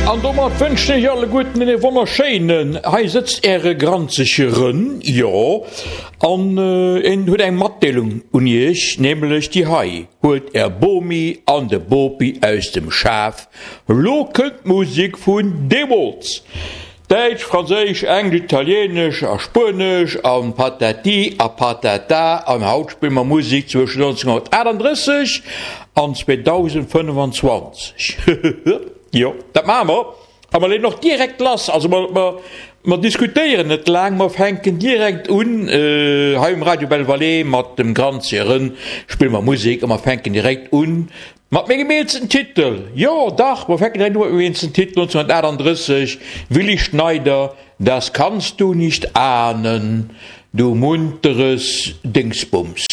An domat wënschen ech alleguerten een wonnerschéinen, hei sëtzt äre granzege Rën, jo, an en huet eng Matdeelung un iech, nämlech déi hei, Huelt är Bomi an de Bopi aus dem Schaf, lo kënnt d'Musek vun deemools! Däitsch, Franséisch, Englesch, Italienesch a Spuenesch an Patati a Patata an haut spille mer Musek zwëschen 1938 an 2025. Jo, dat maache mer a mer leeën och direkt lass. Also mer, mer, mer diskutéieren net laang, mer fänken direkt un hei um Radio Belle Vallée mat dem Granzje Rën spille mer Musek a mer fänken direkt un Mat mengem eelsten Titel, jo dach, mer fänken direkt u mat mengem eelsten Titel, 1938, Willy Schneider, Das kannst du nicht ahnen, du munteres Dingsbums.